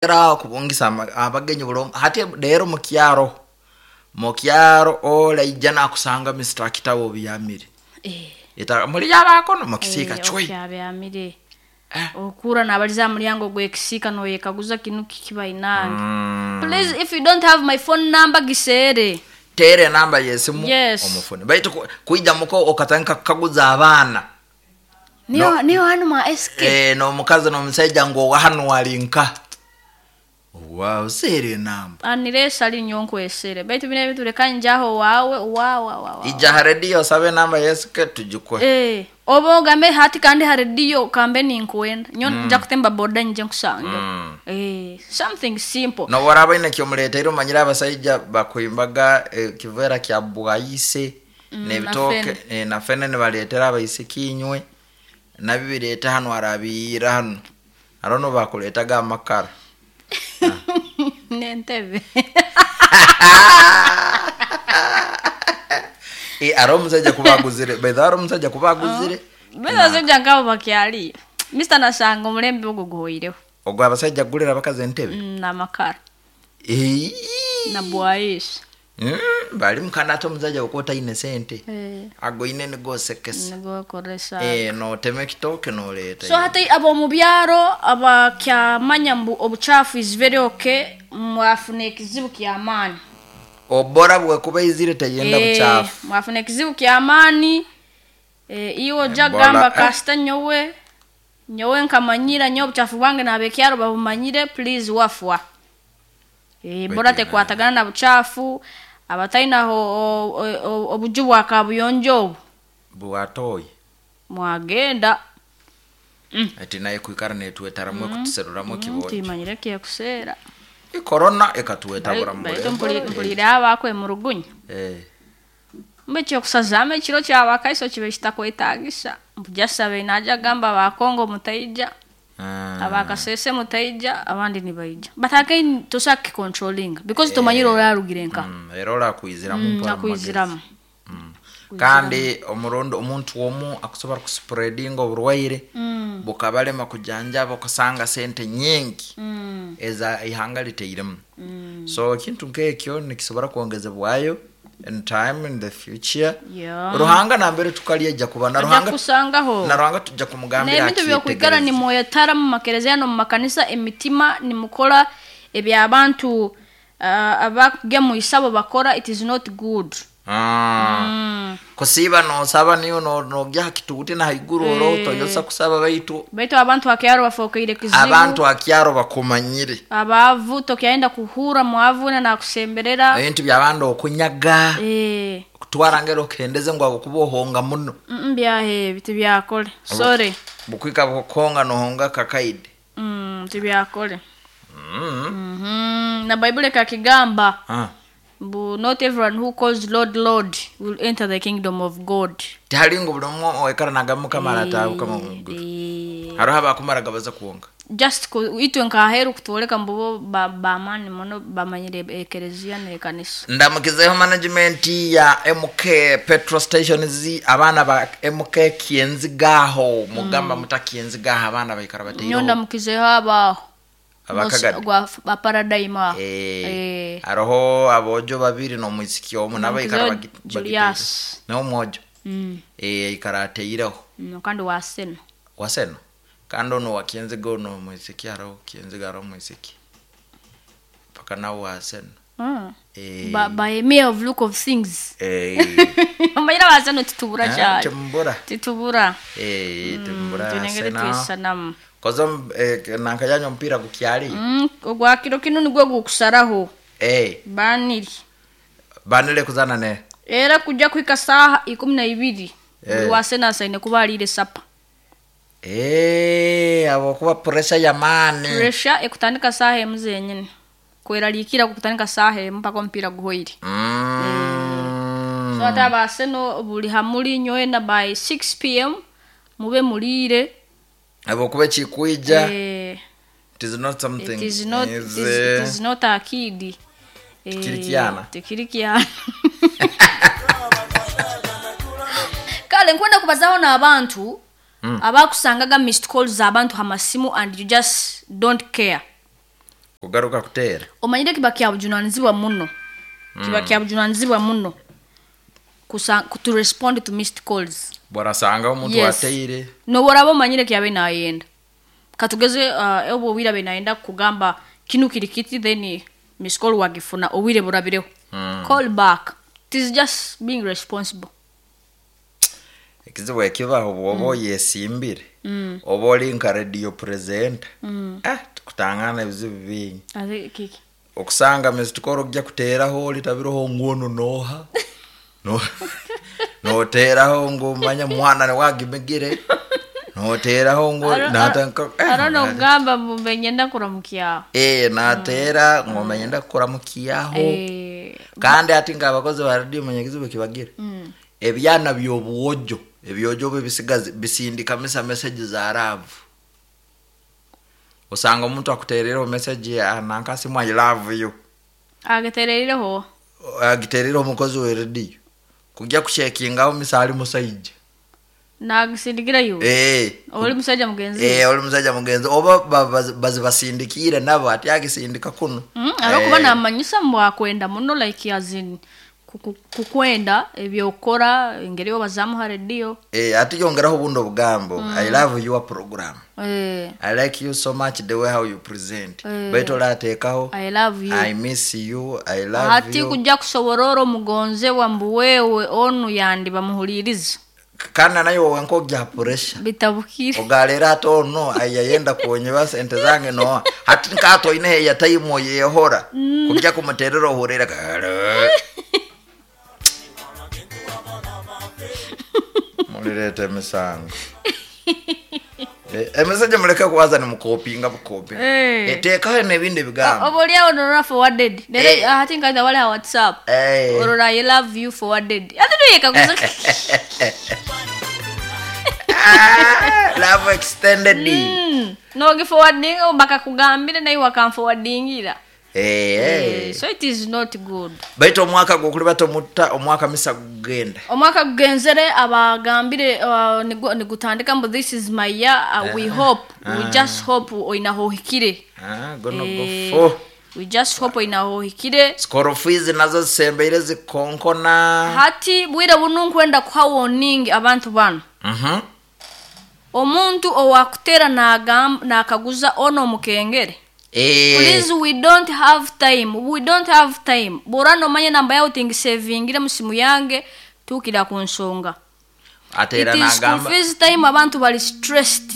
Era kubungisa abagenyi buli omu hati rero mukyaro oraija nakusanga Mr. Kitabo obyamire. Eh. Muli abakono mukisiika Eh, cwi. okyabyamire. Eh. Okura nabaliza aha mulyango gw'ekisiika noyekaguza kinu kiki bainange. Please, if you don't have my phone number, giseere. Teera enamba yesimu. Yes. Omufune baitu kwija muko okatandika kukaguza abaana. Niyo. No. Niyo hanu mwa SK. Eh, n'omukazi n'omusaija ngu owa hanu walinka wow, seera enamba. Aniresa linyo nkwesere, baitu bino ebintu leka njaho wawe wawa wawa. Ija ha rediyo osabe enamba yesike tugikuhe. Eh, oba ogambe hati kandi ha rediyo kambe ninkwenda nyo nja kutemba boda nje nkusange. Eh, something simple. Noboraba ine kyomuleteire, omanyire abasaija bakwimbaga ekiveera kya bwayise n'ebitooke. Na fene. Eh, na fene nibaleetera abaisiki inywe nabyo bireete hanu arabiira hanu haro nobakuleetaga amakara. N'entebe. Eh, hariho omusaija kuba aguzire baithe hariho omusaija kuba aguzire. Baitu abasajja nkabo bakyaliyo, Mr. Nasanga omulembe ogwo guhoireho. Ogwo abasaija kugulira abakazi entebe. N'amakara. Eii. Na bwayisi. Bali mukana ate omusaija okuba otaine sente Eh. agoine nigosekesa. Nigokoresa. Eh, notema ekitooke noleeta. So hati ab'omu byaro abakyamanya mbu obuchafu is very okay, mwafuna ekizibu kyamaani. Obora bwekuba izire teyenda Eh, buchafu. Mwafuna ekizibu kyamaani. Eh, iwe ojja Ebola, kugamba eh. kasita nyowe nkamanyira nyowe obuchafu bwange n'abekyaro babumanyire, please wafwa. Eh, ebola Baitu tekwatagana na buchafu abatainaho obuju bwa kabuyonjo obu. Bwatoyi. Mwagenda. Ati naye kwikara netwetaramu ekutuseruramu ekibonjo. Timanyire kyekuseera. Korona ekatuwetabura. Baitu mpulire abakwe murugunya. Eh. Mbe ekyokusazaamu ekiro kyabakaiso kibe kitakwetagisa mbujasabe naja gamba abakongo mutaija. Abakasese mutaija, abandi nibaija, but again tosobola kukicontrollinga because tomanyire orarugire nka. Era orakwiziramu mpora mu magezi. Akwiziramu. Kandi omurundi omuntu omu akusobora kuspreadinga oburwaire bukabalema kujanjaba, okusanga sente nyingi eza ihanga liteiremu. So ekintu nkekyo nikisobora kwongezebwayo in time, in the future. Ruhanga nambere tukalyeja kuba na Ajja Ruhanga kusangaho. Na Ruhanga tujja kumugambira. N'ebintu byokwikara akyetegereze. nimwetara mu makereziya no mu makanisa emitima nimukora ebyabantu abakugya mu isabo bakora, it is not good. Kusiiba nosaba niyo nogya hakituuti na haiguru oro toyosa kusaba baitu. Baitu abantu akyaro bafokeire kizibu. Abantu akyaro bakumanyire. Abaavu tokyayenda kuhura mwavu na nakusemberera. Ebintu byabandi okunyaga, Eh, kutwara ngero okendeze ngu agokuba ohonga muno. Byahe tibyakole, sorry. Bukwika bukukonga nohonga kakaide. Tibyakole. Na Bible ekakigamba mbu not everyone who calls "Lord, Lord" will enter the kingdom of God. Tihali ngu buli omwe oikara nagamba Mukama arataabuka muguru. Eh, Hariho abakumara baza kuwonga. Just itwe nkaheru kutwoleka mbu bo bamani muno bamanyire ekereziya n'ekanisa. Ndamukizeho management ya MK petrol stations, abaana ba MK Kienzigaho, mugamba mutakienzigaho abaana baikara Nyo bateireho. ndamukizeho abaho. Abakagadi. Gwa baparadigm aho. Eh, Eh. hariho abojo babiri n'omwisiki omu nabo ikara Ndamukizeho Julius. n'omwojo. Eh, ikara ateireho. Kandi waseno. Waseno kandi ono wakienziga ono omwisiki, hariho Kienziga, hariho omwisiki paka nawe waseno. Eh. By mere of look of things. Eh. Omanyire abaseno titubura Ah, cyane. Timbura. Titubura. Eh, timbura. Tunengere Sena twisanamu. kozo nankajanya omupiira gukyali. Ogwa kiro kinu nigwo gukusaraho. Eh. Baniri. Banile kuzana ne. Era kujja kuhika saaha 12 Eh. buli waseno asaine kuba aliire sapa. Eh, abo kuba pressure yamaani. Pressure ekutandika saaha emu zenyini, kweraliikira kukutandika saaha emu mpaka omupiira guhoire. So ate abaseno buli hamuli nyoena by 6 p.m. mube muliire. Abo kuba ekikwija. Eh, It is not something it is not, is, it is not akidi. Eh, Tikiri kyana. Tikiri kyana. Kale nkwenda kubazaho n'abantu abakusangaga missed calls abantu hamasimu and you just don't care. Kugaruka kuteera. Omanyire kiba kyabujunanizibwa muno, kiba kyabujunanizibwa muno to respond to missed calls. Bwarasanga omuntu ateire. Noboraba omanyire kyabe nayenda, katugeze obwo obwire abe nayenda kugamba kinu kiri kiti, then miss call wagifuna obwire burabireho. Call back. It is just being responsible. Ekizibu ekibaho, bwoba oyesimbire, oba oli nka radio presenter, tukutangana ebizibu bingi. Ate kiki? Okusanga missed call ojja kuteeraho olitabiroho nguono noha no noteeraho ngu manya mwana niwagimigire, noteeraho ngu Arona okugamba mbu nyenda kuramukyaho. Nateera ngomanye ndakuramukyaho. Kandi ati ng'abakozi ba radio, manya ekizibu kibagira, ebyana by'obuwojo, ebyojo bwe bisigazi bisindika misa message za love. Osanga omuntu akuteerereho message nankasimu, "I love you." Agitereireho? Agiteerere omukozi wa radio kujja kushekingaho misa ali musaija. Nagisindikira iwe? Oli musajja mugenzi? Oli musajja mugenzi oba bazibasindikire nabo, ati agisindika kuno. Arokuba namanyisa mbwakwenda muno, like as in kukwenda ebyokora, engeri obazamu ha radio. Ati yongeraho obundi obugambo, "I love your program." "I like you so much, the way how you present." Baitu olateekaho "I love you." "I miss you," "I love Hati you." kujja kusoborora omugonzebwa mbu wewe onu yandi bamuhuliriza. Kandi nayo wenka ojja pressure. Bitabukire. Ogalera ati ono ayayenda kuonyiba sente zange, no hati nkato ine ya time oyehora kujja kumuterera ohurira kale mulireta emisango. Emeseje muleke kuwaza ni mukopinga bukopi. Eteekaho n'ebindi bigambo. Oba oliawo norora forwarded. Nere ati nkaita wale ha WhatsApp. Orora "I love you" forwarded, ati nuyekaguza. Ah, love extended. Nogiforwarding bakakugambire naye wakamforwardingira. So it is not good. Baitu omwaka gwokuli batomutta, omwaka misa gugenda. Omwaka gugenzere, abagambire nigutandika mbu this is my year. We hope, we just hope oinaho ohikire. Ah, gono gofo. We just hope oinaho ohikire. School fees nazo zisembeire zikonkona. Hati bwire bunu nkwenda kuha warning abantu bano. Omuntu owakutera nakaguza ono mukengere, please, we don't have time, we don't have time. Bora nomanye namba yawe tingisevingire musimu yange, tukira ku nsonga. Ateera It is school n'agamba fees time, abantu bali stressed.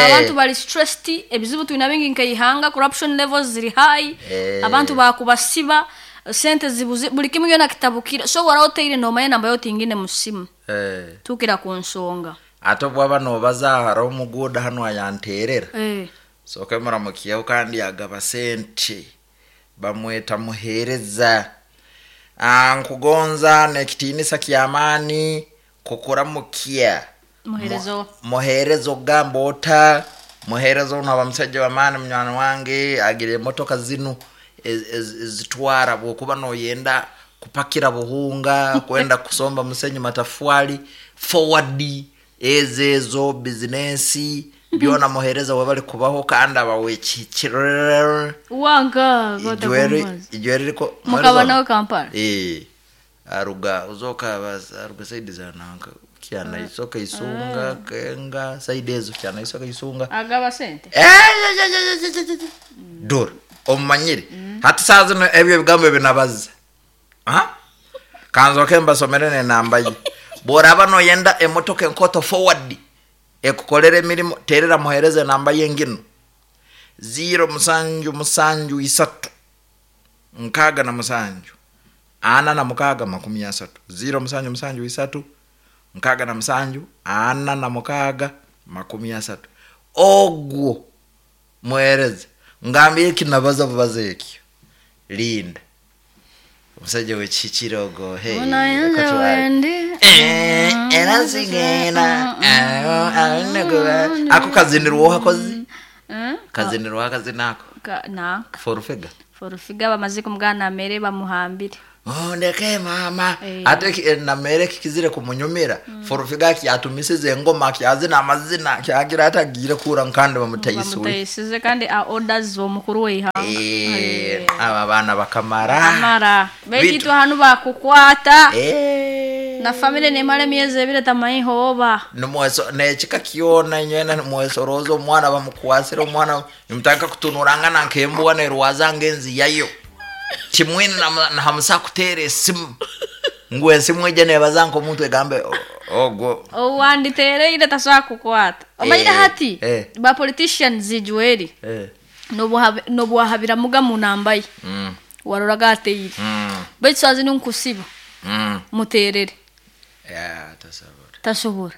Abantu bali stressed, ebizibu tulina bingi nkaihanga, corruption levels ziri high. Abantu bakubasiba, sente zibuze, buli kimu yona kitabukire. So wara oteire nomanye namba yawe tingine musimu, tukira ku nsonga. Ate bwaba nobaza hariho omuguuda hano ayanteerera. Soke muramukiyeho kandi agaba sente, bamweta Muheereza. Ah, nkugonza nekitiinisa kyamaani kukuramukia. Muheereza? Muheereza ogamba ota? Muheereza ono aba musajja wamaani, munywani wange, agira emotoka zinu ezitwara bwokuba noyenda kupakira buhunga, kwenda kusomba musenyu, matafwali, forward ezo ezo bizinesi byona. Muheereza webali kubaho kandi abawekikirere. Wanka? Ijweri riko. Mukaba nawe Kampala? Aruga uzoka aruga side za nanka kyana isoka isunga kenga side ezo kyana isoka isunga. Agaba sente. Dora omumanyire hati saa zino ebyo ebigambo ebinabaza. Kanzoke mbasomere nenamba ye. Bworaba noyenda emotoka enkoto forward ekukolera emirimu, terera muhereza, enamba ye ngino: 0773 67 46 30, 0773 67 46 30. Ogwo muhereza, ngambye ekinabaza bubaza ekyo, linda omusajja wekikirogo. Hey, Unayenze wendi. Era nsigenda ako kazinirwa hakozi kazinirwa akazina ako. Nanka Forufega. Forufiga bamaze kumugana mere bamuhambire. Ndeke mama. Eh. Ate namere kikizire kumunyumira. Forufiga kyatumisize engoma kyazina amazina kyagira atagire kura nkandi bamutayisuye. Bamutayisize kandi a orders omukuru w'eihanga. Aba baana bakamara. Amara baitu hanu bakukwata. Na family nemara emyezi ebiri tamayiho oba. Nimweso nekika kyona nywena nimwesoroza omwana bamukwasire omwana nimutaka kutunurangana nk'embwa nerwaza ngenzi yayo. Kimwine na hamusa kuteera esimu. Ngu esimu ejja nebaza nk'omuntu egambe ogwo. Owanditeereire tasobola kukwata. Omanyire hati ba politicians Joel. Nobwahabiramuga mu namba ye. Waroraga ateire. Baitu sazi nunkusiba. Muteerere. Tasobora.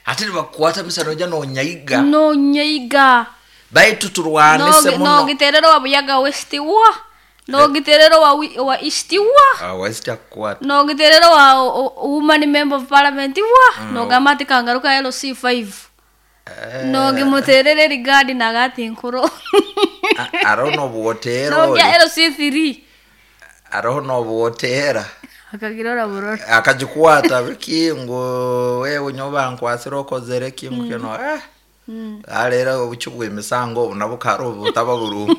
Ate nibakukwata misano ojja nonyayiga. Nonyayiga. Baitu turwanise muno. Nogiterera wa Buyaga West wa. Nogiterera wa East wa. West akukwata. Nogiterera wa woman member of parliament wa. Nogamba ati kangaruka LC5. Nogimuterere rigadi nagati nkuro. Aroho nobuwotera. Nogya LC3. Aroho nobuwotera. Akagirora burora. Akajikwata biki ngo wewe nyoba nkwasira okozere ki mukino. Alera obuki bw'emisango obu nabo kari obutaba burungi.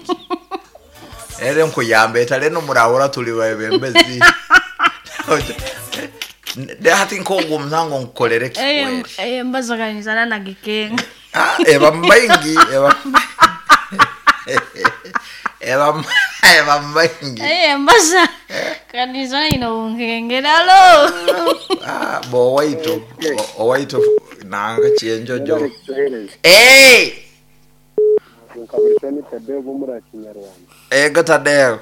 Ere nkuyamba etale n'omurahura tuli babembezi. Hati nk'ogwo omusango nkukorere kikweri. Mbazaganizana na gikenga. Eba mbaingi, eba mbaingi. Mbaza. Kanizana ino nkengera alo. Bo waitu, owaitu nanga chenjojo. Ego Tadeo.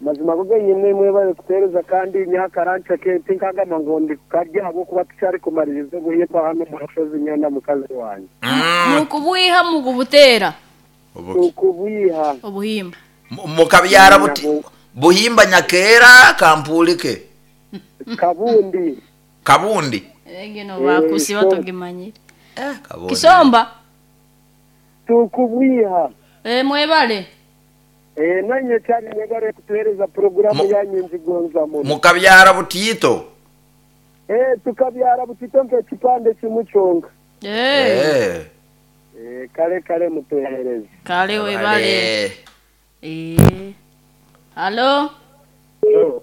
Mazima goge yine mwebale kutereza kandi nyakarancha ke tinkagamba ngo ndi karya abo kuba tucyari kumaririza guhimba hano mu rushozi nyana mukazi wanjye. Mukubwiha mukubutera. Mukubwiha. Obuhimba. Mukabyara buti buhimba nyakera kampulike. Kabundi. Kabundi. Egeno bakusi batogimanyire. Kabundi. Kisomba. Tukubwiha. Mwebale. Nanye cyane mwebale kutuhereza programu yanyu nzigonza muno. Mukabyara butito. Tukabyara butito nke kipande kimuconga. Kale kale mutuhereze. Kale webale. Halo. Hello.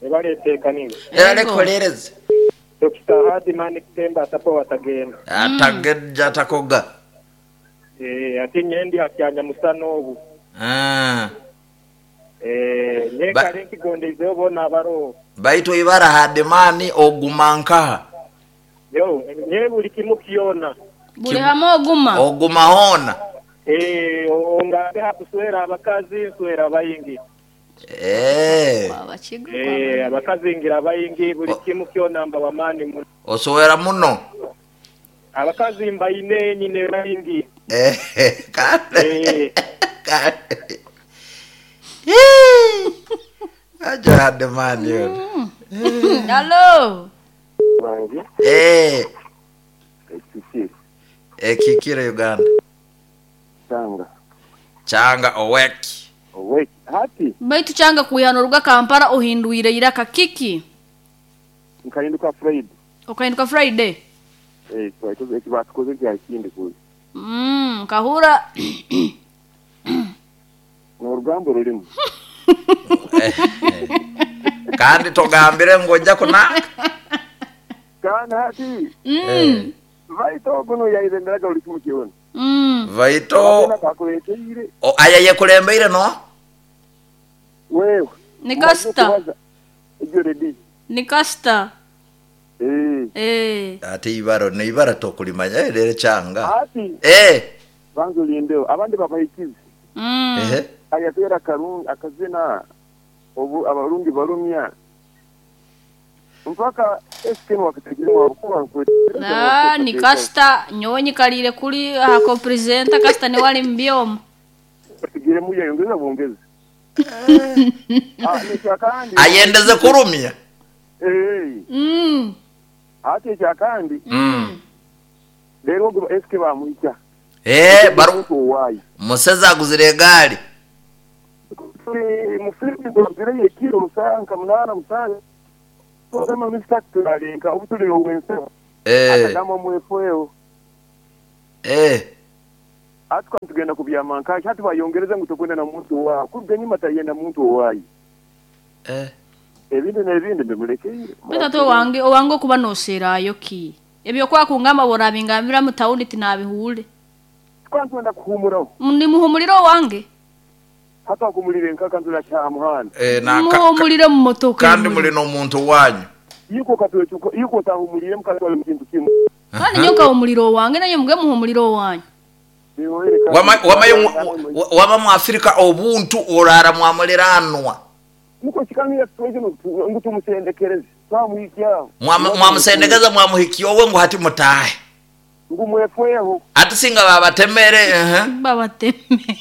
Ebale tekanini. Ebale kolereze. Dr. Hadi mani kutemba atapo watagenda. Atageja takoga. Ati nyendi akyanya musano obu. Nyekale nkigondeze obona abaro. Baitu ibara Hadimani ogumankaha. Yo, nye buli kimu kiona. Buli hamo oguma. Oguma hona. Ongabe hakuswera abakazi nswera abayingi. Abakazi ngira abayingi buli kimu kiona mba wamani muno. Osowera muno. Abakazi mbaine nyine bayingi. Kale. Kale. Aja Hadimani yo. Hello. Wangi. Kikire Uganda. Changa. Changa oweki. Oweki. Hati. Baitu changa kuyano ruga Kampala ohinduire iraka kiki? Nkahinduka Friday. Okahinduka Friday? Ekibatukoze kya kindi kuzi. Kahura. N'orugambo rulimu. Kandi togambire ngojja kunaka. Kandi hati. Vaito kuno yaizenderaga buli kimu kiona. Vaito. Aya yekulembeire no? Wewe. Ni Kasta. Ni Kasta. Ate ibaro ne ibara tokulimanya rero changa. Ati. Banzo lindeo abandi babahikize. Ayatera karungi akazina obu abarungi barumya. Mpaka SK wakategirwa wakuba Na ni Kasta nyonyi kalire kuli ako presenter Kasta ni wali mbyomo. Tegire muya yongeza bongeza. Ayendeze kurumya. Ate kyakandi. Rero ngo SK bamuhika. Baru Museza aguzire egali. Tuli mu Philippines ekiro musanka nka 8 7. Sema Mr. Tulalinka obutuli obwenso. Akagamba mwefweo. Atuka tugenda kubyama nkashi hati bayongereza ngu tokwenda na muntu wa kuruga nyuma tayenda muntu owayi. Ebindi n'ebindi mbimulekere. Bita wange owange okuba noserayo ki? Ebyo kwa kungamba borabingambira mu tawuni tinabihule. Twantwenda kuhumuraho. Ndi muhumuliro wange. Hata kumulire nkaka nzula cha muhanda. Na muhumulire mu motoka. Kandi muri no muntu wanyu. Yuko katwechuko yuko tahumulire mukatwale mu kintu kimwe. Kandi nyoka umuliro wange nayo muge muhumuliro wanyu. Wama mu Afrika obuntu orara mwamuliranwa. Muko chikamira situation ngutumusendekereze. Twamuhikia. Mwamusendekeza mwamuhikia owe ngo hati mutahe. Ngumwefweho. Ati singa babatemere babatemere.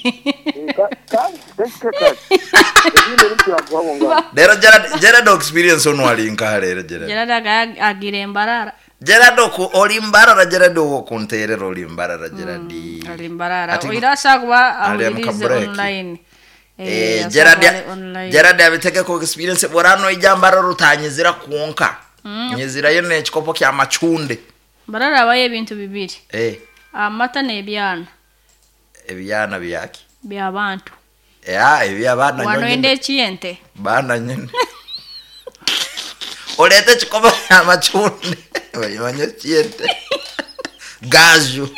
Lero Gerard experience ono alinka lero Gerard. Gerard agire mbarara. Gerard ko oli mbarara Gerard wo kunterera oli mbarara Gerard. Ali mbarara. Oirasa kuba ahulirize online. Gerard abiteke ko experience borano ijambara rutanyizira kuonka. Nyizira yo n'ekikopo kya machunde. Mbarara abaye ebintu bibiri. Amata n'ebyana. Ebyana byaki? By'abantu. Ebyabana nyonyi. Wano ekiyente. Bana nyene. Olete ekikopo kya machunde. Bayimanye ekiyente. Gaju.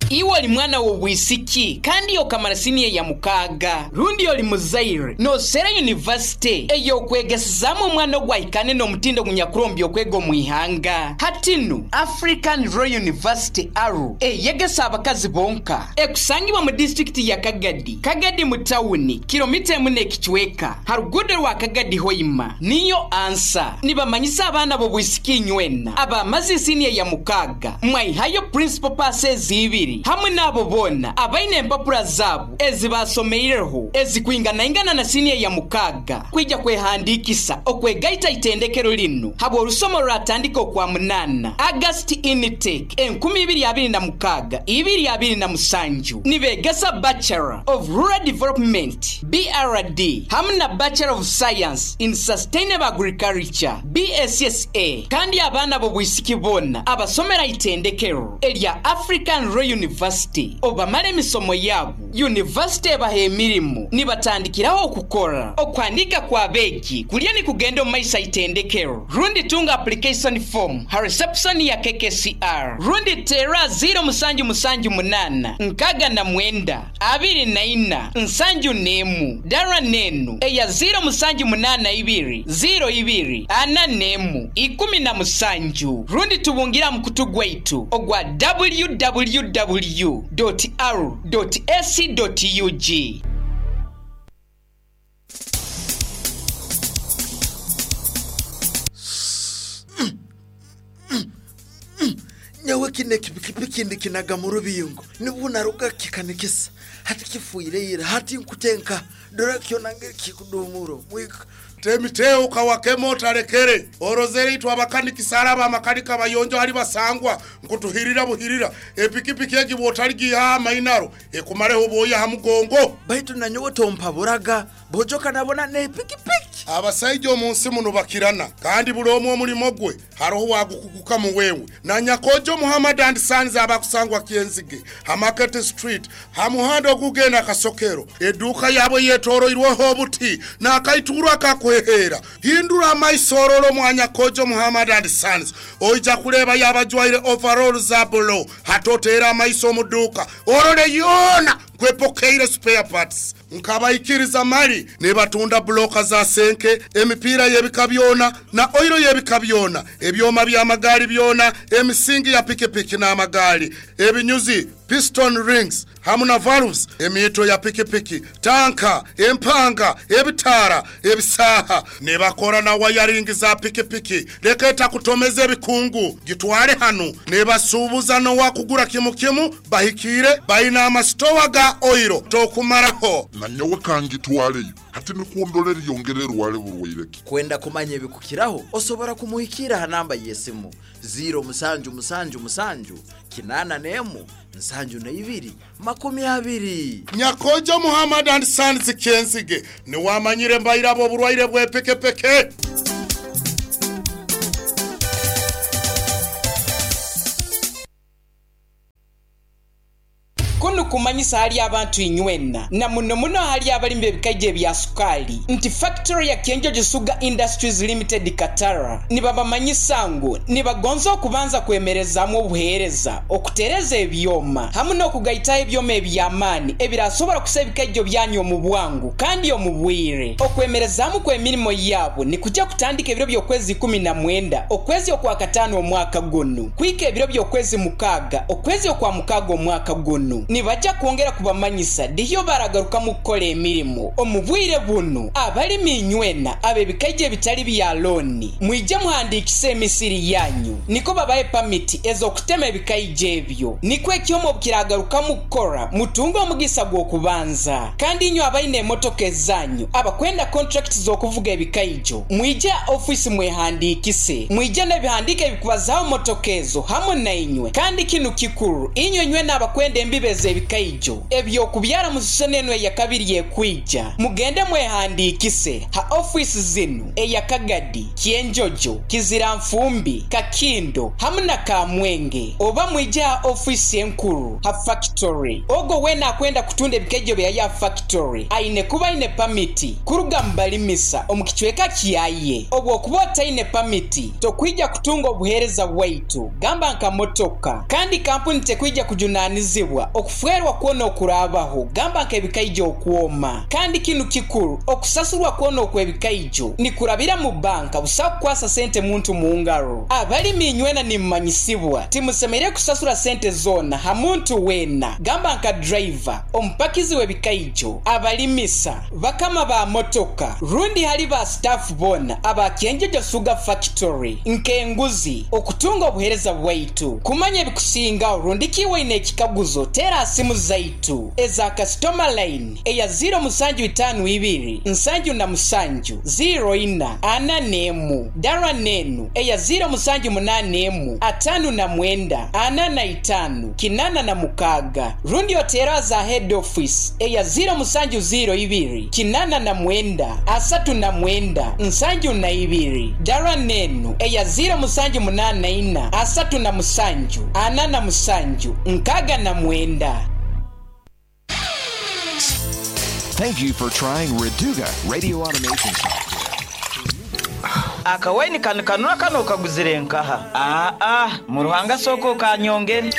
Iwe oli mwana w'obwisiki kandi okamara siniya ya mukaaga rundi oli muzaire nosera university ey'okwegesezaamu omwana ogwahikane n'omutindo gunyakurombi okwega omu ihanga hatinu African Royal University Aru eyegesa abakazi bonka ekusangibwa mu disitulikiti ya Kagadi Kagadi mu tawuni kilomita emu n'ekicweka harugudo rwa Kagadi Hoima niyo ansa nibamanyisa abaana b'obwisiki nywena abamaze siniya ya mukaaga mwaihayo principal passes ibiri hamwe nabo bona abaine empapura zabo ezibasomeireho ezikwinganaingana na siniya ya mukaaga kwijja kwehandikisa okwegaita itendekero lino habwa olusomo lwatandika okwa 8 August intake 2026 2027 nibegesa Bachelor of Rural Development BRD hamwe na Bachelor of Science in Sustainable Agriculture BSSA kandi abaana b'obwisiki bona abasomera itendekero erya African Royal University obamala emisomo yabo university ebaha emirimu nibatandikiraho okukora okwandika kwa beegi kulya ni kugenda omu maiso itendekero rundi tunga application form ha reception ya KKCR rundi tera 0778 69 24 71 dara nenu eya 0782 02 41 17 rundi tubungira mukutu gwaitu ogwa www.r.ac.ug. Nyawe kine kipikipiki ndikinaga mu rubingo nibunaruga kikanikisa hati kifuire hati nkutenka dora kyonange kikudumuro mwika temiteo kawakemo tarekere orozere itwa abakanikisa araba amakanika bayonjo hari basangwa nkutuhirira buhirira epikipiki egi botarigi ha mainaro ekumareho boya ha mugongo baitu nanyowe tompaburaga bojoka nabona ne pikipiki abasaija omunsi muno bakirana kandi bulomu omulimo gwe haroho wagukuguka mu wewe na Nyakojo Muhammad and Sons abakusangwa Kienzige ha Market Street ha muhando ogugenda Kasokero eduka yabo yetoroirweho obuti na akaiturwa kakwehera hindura amaisororo mwa Nyakojo Muhammad and Sons oija kuleba yabajwaire overall za bolo hatotera amaiso muduka orole yona kwepokeire spare parts nkabaikiriza mali nebatunda bloka za senke emipira yebika byona na oiro yebika byona ebyoma bya magali byona emisingi ya pikipiki na magali ebinyuzi piston rings hamu na valves emito ya pikipiki tanka empanga ebitara ebisaha nebakora na wiring za pikipiki leketa kutomeza ebikungu gitwale hanu nebasubuza no wakugura kimu kimu bahikire baina amastowa ga oiro tokumaraho na nyowe kangitwaleyo hati nikundolera yongerera wale burwaireki kwenda kumanya ebikukiraho osobora kumuhikira ha namba yesimu 0 7 7 7 81 72 20. Nyakojo Muhammad and Sons Kyenzige niwamanyire mbairabo oburwaire bw'epekepeke. Kunu kumanyisa hali abantu inywena na muno muno hali abalimi b'ebikaija ebya sukali nti factory ya Kyenjojo Sugar Industries Limited Katara nibabamanyisa ngu nibagonza okubanza kwemerezaamu obuheereza, okutereza ebyoma hamu n'okugaitaho ebyoma eby'amaani ebirasobora kusa ebikaijjo byanyu omu bwangu kandi omu bwire. Okwemerezaamu kw'emirimo yaabo nikujja kutandika ebiro by'okwezi 19 okwezi okwakataano omwaka gunu kuhika ebiro by'okwezi 6 okwezi okwa mukaaga omwaka gunu. Nibaja kwongera kubamanyisa dihyo baragarukamu kukora emirimo omu bwire bunu. Abalimi inywena ab'ebikaija ebitali bya looni, mwije muhandiikise emisiri yanyu nikwo babahe pamiti ez'okutema ebikaija ebyo. Nikwo ekyoma obukiragarukamu kukora mutunge omugisa gw'okubanza. Kandi inywe abaine emotoka ezanyu abakwenda kontrakiti z'okuvuga ebikaijo, mwije aha ofiisi mwehandiikise. Mwije n'ebihandiiko ebikubazaho motoka ezo hamu nainywe. Kandi kinu kikuru inywe nywena abakwenda embibo ez'ebikaijo eby'okubyara mu sizoni enu eyakabiri ekwija, mugende mwehandiikise ha ofiisi zinu eya Kagadi, Kyenjojo, Kiziranfumbi, Kakindo hamu na Kamwenge, oba mwije ha ofiisi enkuru ha fakitori. Ogwo weena akwenda kutunda ebikaijo byaye ha fakitori aine kuba aine pamiti kuruga mu balimisa omu kicweka kyaye. Obwokuba otaine pamiti tokwija kutunga obuheereza bwaitu gamba nka motoka, kandi kampuni tekwija kujunanizibwa okufwerwa kwona okuraabaho gamba nk'ebikaijo okwoma. Kandi kinu kikuru, okusasurwa kwona okw'ebikaijo nikurabira mu banka busaho kukwasa sente muntu mu ngaro. Abalimi inywena nimumanyisibwa timusemereire kusasura sente zoona ha muntu weena gamba nka driver, omupakizi w'ebikaijo, abalimisa, bakama ba motoka rundi hali ba staff boona aba Kyenjojo Sugar Factory nk'enguzi okutunga obuhereza bwaitu. Kumanya ebikusingaho rundi ki waine ekikaguzo teera ha simu zaitu eza kasitoma line eya ziiro musanju itaanu ibiri nsanju na musanju ziiro ina ana n'emu, dara n'enu eya ziiro musanju munaana emu ataanu na mwenda ana na itaanu kinaana na mukaaga rundi oteere aza head office eya ziiro musanju ziiro ibiri 89 39 72, dara n'enu eya ziiro musanju munaana ina 37 47 69. Thank you for trying Reduga Radio Automation Software. Akawaini kanu kanura kano okaguzire nkaha? Aa, mu Ruhanga sooka okanyongere.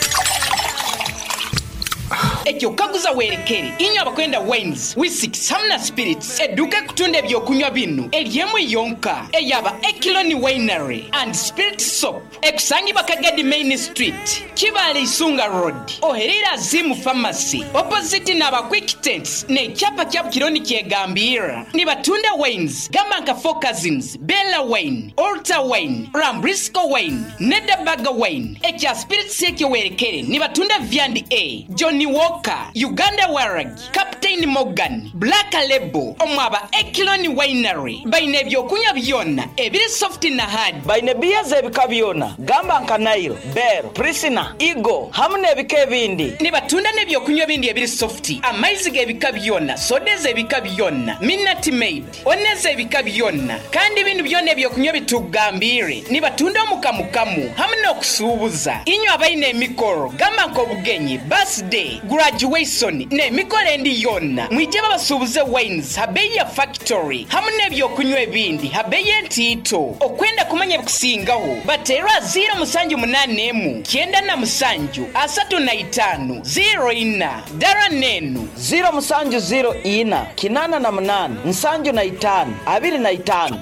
Ekyo kaguza werekere inywe abakwenda wines, whiskeys hamu na spirits. Eduuka ekutunda ebyokunywa binu eri emwe yonka eyaba Ekiloni Winery and Spirit Shop ekusangibwa Kagadi Main Street, Kibaale Isunga Road, ohereire Azimu Pharmacy, opposite n'aba Quick Tents n'ekyapa kya Bukironi kyegambirra. Nibatunda wines gamba nka Four Cousins, Bella Wine, Altar Wine, Rambrisco Wine, Nederburger Wine. Ekya spirits ekyo werekere nibatunda Viand A, Johnnie Walker, Uganda Waragi, Captain Morgan, Black Label. Omwaba Ekiloni Winery baine ebyokunywa byona ebiri soft na hard. Baine biya z'ebika byona gamba nka Nile, Bell, Prisina, Eagle hamu n'ebika ebindi. Nibatunda n'ebyokunywa ebindi ebiri soft, amaizi g'ebika byona, soda ez'ebika byona, Minute Maid, one ez'ebika byona. Kandi binu byona ebyokunywa ebitugambiire nibatunda omu kamukamu hamu n'okusuubuza. Inywe abaine emikoro gamba nk'obugenyi, birthday, graduation n'emikoro endi yoona, mwije babasuubuze wines ha beeyi ya factory hamu n'ebyokunywa ebindi ha beeyi entiito. Okwenda kumanya ebikusingaho, bateerwe aha ziiro musanju munaana emu, 97, 35, 04. Dara n'enu. Ziiro musanju ziiro ina, 88, 75, 25.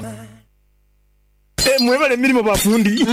Mwebale emirimo bafundi.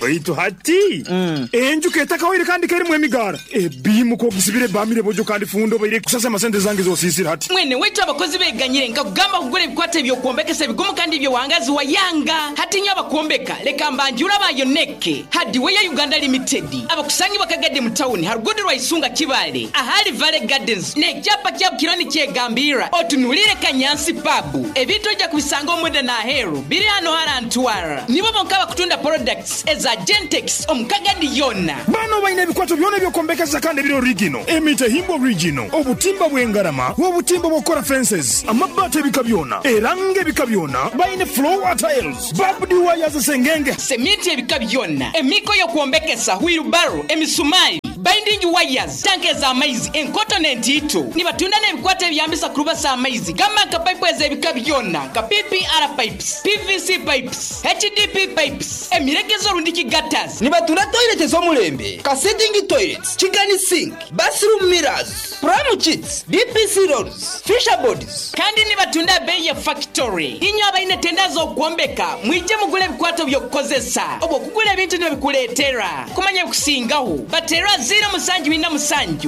Baitu hati enju ketakawaire kandi kerimu emigara ebimu kogisibire bamire bojo kandi fundo baire kusasa amasente zange zosisira hati. Mwene wetu abakozi beganyire nkakugamba kugura ebikwata ebyokwombekesa ebigumu kandi ebyowangazi wa yanga. Hati nyo abakwombeka leka mbanjura bayoneke Hardware Uganda Limited abakusangibwa Kagadi mu town harugudu rwa Isunga Kibale ahali Valley Gardens n'ekyapa kya Bukironi kyegambira otunulire Kanyansi pub ebintu ojja kubisanga omunda n'aheru biri hano. Ntwara. Nibo bonka bakutunda products eza Gentex omu Kagadi yona. Bano balina ebikwato byona ebyokombekesa kandi ebiri original, emitahimbwa original, obutimba bw'engarama, obutimba bw'okukola fences, amabaati ebika byona, eranga ebika byona, balina floor tiles, barbed wires, sengenge, seminti ebika byona, emiko y'okwombekesa, wheelbarrow, emisumari, binding wires, tanka ez'amaizi enkoto n'entiito. Nibatunda n'ebikwato ebiyambisa kurubasa amaizi gamba nka pipe ez'ebika byona nka PPR pipes, PVC pipes, HDP pipes, emiregezo rundiki gutters. Nibatunda toilet ez'omulembe ka sitting toilets, chicken sink, bathroom mirrors, pram kits, DPC rolls, fascia boards. Kandi nibatunda bei ya factory. Inywe abaine tenda z'okwombeka, mwije mugule ebikwato by'okukozesa obwo okugula ebintu nibikuleetera kumanya ebikusingaho. Batera 077 85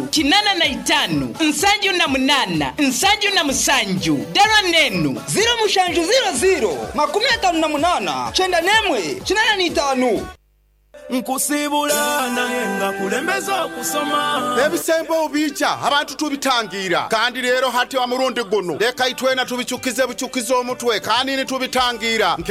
78 77 dara nenu 0700 58 91 85. Nkusibula naye nga kulembeza okusoma. Ebisembo bija abantu tubitangira, kandi rero hati wa murundi guno leka itwena tubicukize bucukize omutwe kandi nitubitangira.